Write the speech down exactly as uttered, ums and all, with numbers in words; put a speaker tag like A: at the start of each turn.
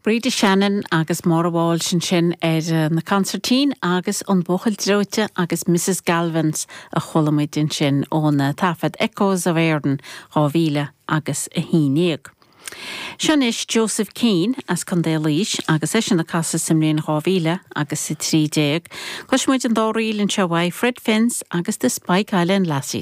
A: Breda Shannon agus Maura Walsh ansin ar na consairtín agus an buachaill dreoite agus Mrs Galvins a chuala muid ansin óna taifead Echoes of Éireann dhá mhíle agus a haon déag. Seo anois Joseph Keane as Contae Laois agus eisean ag casadh sa mbliain dhá mhíle agus a trí déag. Cloisfimid an dá ríl anseo uaidh Fred Finn's agus the Spike Island Lassies.